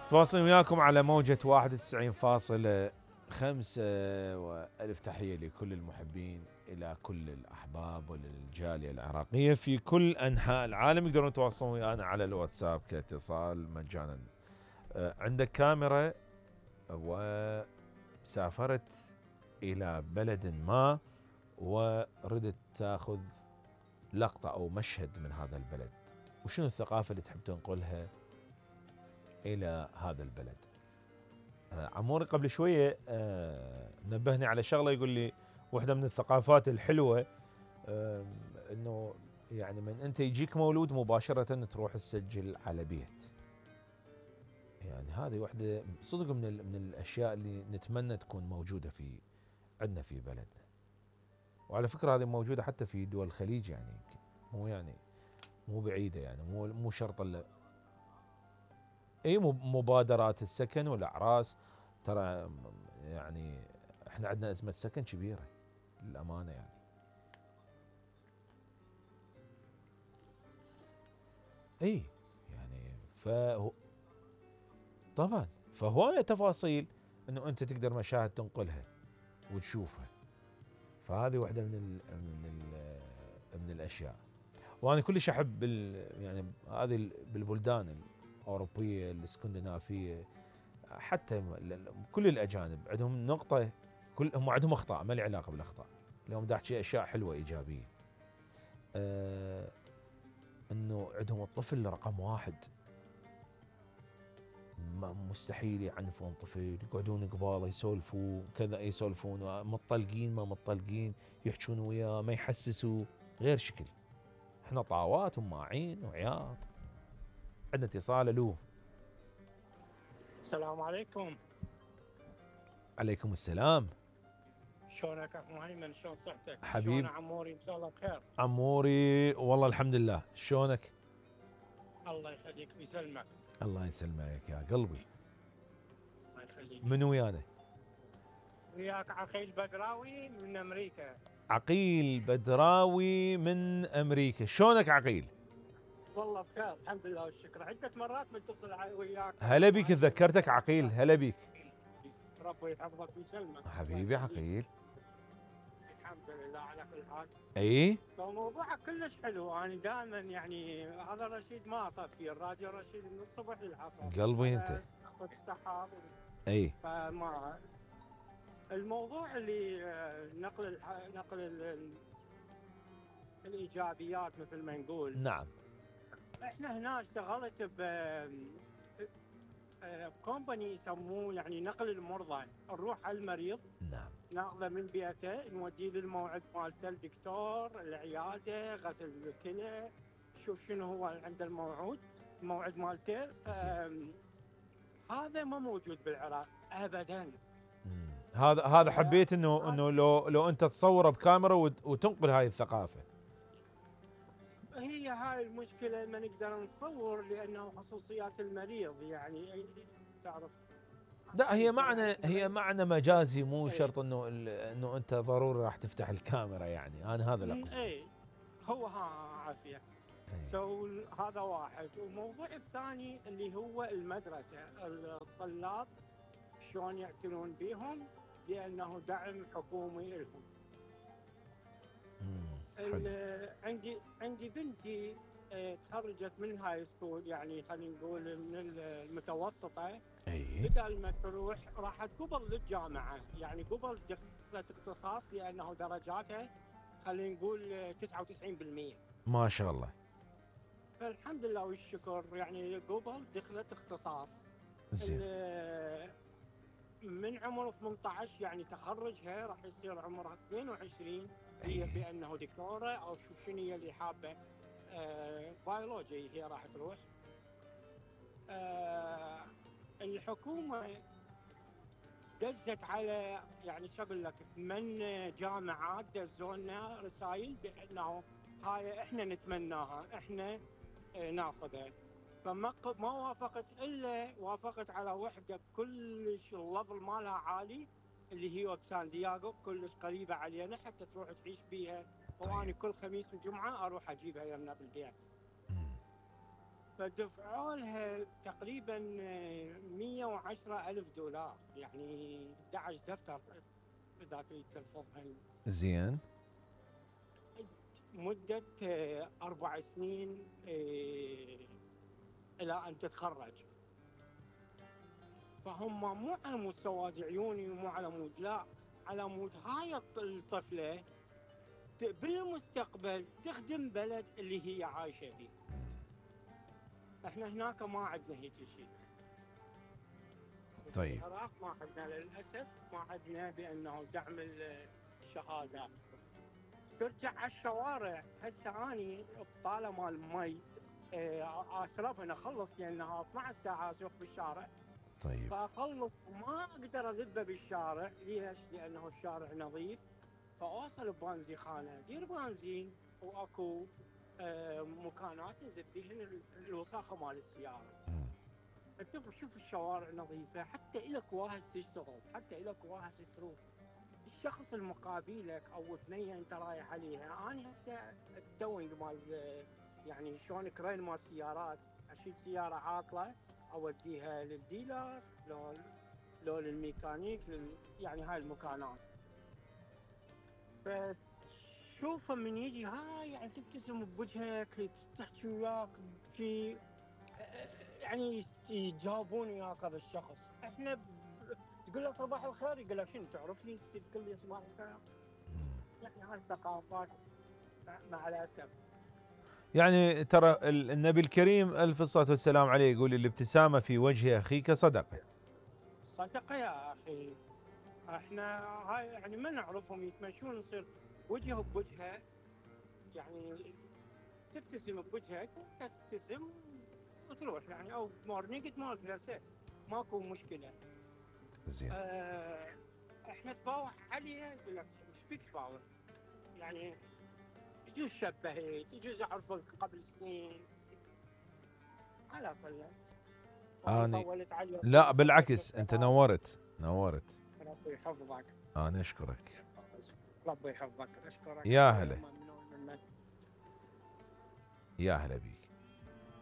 تواصل وياكم على موجة 91.5 وألف تحية لكل المحبين، إلى كل الأحباب وللجالية العراقية في كل أنحاء العالم. يقدرون يتواصلون ويانا على الواتساب كاتصال مجانا. عندك كاميرا وسافرت إلى بلد ما وردت تاخذ لقطة أو مشهد من هذا البلد، وشنو الثقافة اللي تحب تنقلها إلى هذا البلد؟ عموري قبل شوية نبهني على شغلة، يقول لي واحدة من الثقافات الحلوة إنه يعني من أنت يجيك مولود مباشرة تروح تسجل على بيت. يعني هذه واحدة صدق من الأشياء اللي نتمنى تكون موجودة في عندنا في بلدنا. وعلى فكرة هذه موجودة حتى في دول الخليج، يعني يمكن مو بعيدة، يعني مو شرط اي مبادرات السكن والاعراس. ترى يعني احنا عندنا ازمه سكن كبيره للامانه يعني. اي يعني طبعا فهوايه تفاصيل انه انت تقدر مشاهد تنقلها وتشوفها. فهذه واحده من الاشياء. وانا كلش احب يعني هذه بالبلدان الاوروبيه الاسكندنافيه، حتى كل الاجانب عندهم نقطه، هم عندهم اخطاء ما لي علاقه بالاخطاء، اليوم دا احكي اشياء حلوه ايجابيه. انه عندهم الطفل رقم واحد، مستحيل يعنفون طفل، يقعدون قباله يسولفوا كذا، يسولفون متطلقين ما متطلقين، يحجون وياه ما يحسسوا غير شكل. احنا طاوات وماعين وعياط. عندنا اتصال. الو. السلام عليكم. عليكم السلام. شلونك اخو مهيمن؟ شلون صحتك؟ حبيب. شلون عموري؟ ان شاء الله بخير. عموري والله الحمد لله. شلونك؟ الله يخليك ويسلمك. الله يسلمك يا قلبي. الله يخليك. من ويانا؟ وياك عقيل بدراوي من امريكا. عقيل بدراوي من امريكا. شلونك عقيل؟ والله بخير الحمد لله والشكر. عدة مرات متصل وياك. هلا بيك، تذكرتك عقيل. هلا بيك. ربي يحفظك ويسلمك. حبيبي عقيل. الحمد لله على كل حال. اي موضوعك كلش حلو. انا دائما يعني هذا رشيد ما اطفي الراديو، رشيد من الصبح للعصر. قلبي انت. اخذ السحاب. اي فما الموضوع اللي نقل الايجابيات مثل ما نقول. نعم. احنا هنا اشتغلت بكومباني يسموه يعني نقل المرضى، نروح على المريض. نعم. ناخذه من بيته نوديه للموعد مالته، الدكتور، العياده، غسل الكلى، شوف شنو هو عند الموعد مالته. هذا ما موجود بالعراق ابدا. هذا حبيت انه لو انت تصوره بكاميرا وتنقل هاي الثقافه. هي هاي المشكله، ما نقدر نصور لانه خصوصيات المريض يعني تعرف. لا هي معنى مجازي، مو شرط انه انت ضروري راح تفتح الكاميرا، يعني انا هذا اللي اقصده. اي هو عافيه. هذا واحد. والموضوع الثاني اللي هو المدرسه، الطلاب شلون يعتنون بهم لانه دعم حكومي لهم. عندي بنتي تخرجت من هاي سكول، يعني خلينا نقول من المتوسطه. بدل ما تروح راحت قبل للجامعه، يعني قبل دخلت اختصاص لانه درجاتها خلينا نقول 99%. ما شاء الله. فالحمد لله والشكر، يعني قبل دخلت اختصاص. زين. من عمر 18 يعني تخرجها راح يصير عمرها 22. هي بانه دكتوره او شنو هي اللي حابه. بيولوجي هي راح تروح. الحكومه دزت على يعني شو اقول لك 8 جامعات دزونا رسائل بانه هاي احنا نتمناها، احنا ناخذها. فما وافقت، الا وافقت على وحده كلش الليفل مالها عالي اللي هي بسان دياغو، كلش قريبه علينا حتى تروح تعيش بيها. واني كل خميس وجمعه اروح اجيبها يمنا بالبيت. فدفعوا لها تقريبا 110,000 دولار، يعني 11 دفتر اذا تريد ترفضها. زين. مدة 4 سنين الى ان تتخرج. فهم مو على مود سواد عيوني ومو على مود، لا، على مود هاي الطفلة بالمستقبل تخدم بلد اللي هي عايشة فيه. احنا هناك ما عندنا هيك شيء. طيب. العراق ما عندنا للاسف، ما عندنا بانه دعم الشهادات. ترجع على الشوارع، هسه اني بطاله مال مي اشربها اخلص لانها 12 ساعه اسوق بالشارع. طيب. فاخلص ما اقدر اذبه بالشارع، ليش؟ لانه الشارع نظيف. فاوصل ببنزينخانه دير بنزين واكو مكانات نذب بيهن الوساخه مال السياره. انت شوف الشوارع نظيفه، حتى الك واهس تشتغل، حتى الك واهس تروح. الشخص المقابلك او ثنيه انت رايح عليها، انا هسه التوينج مال يعني شلون كرين مال سيارات، اشيل سياره عاطله اوديها للديلر لو للميكانيك يعني هاي المكانات. فشوفه من يجي هاي يعني تبتسم بوجهك، تحكي وياك شيء، يعني يجاوبون وياك هذا الشخص. احنا تقول له صباح الخير يقول لك شنو تعرفني تقول لي صباح الخير. يعني هاي الثقافات مع الاسف. يعني ترى النبي الكريم ألف الصلاة والسلام عليه يقول الابتسامة في وجه أخيك صدقة. صدقة يا أخي. احنا هاي يعني ما نعرفهم يتمشون نصير وجه بوجهه، يعني تبتسم بوجهك تبتسم وتروح يعني، او مورنينج تمارك نفسه ماكو مشكلة. زين. احنا تفاوح عليها يقول لك ايش بيك تفاوح؟ يعني يجوز شبهت، يجوز اعرفك قبل سنين، على كل. أنا طولت عليك. لا بالعكس، أنت نورت. ربي يحفظك. أنا أشكرك. ربي يحفظك، اشكرك. يا هلا. يا هلا بيك.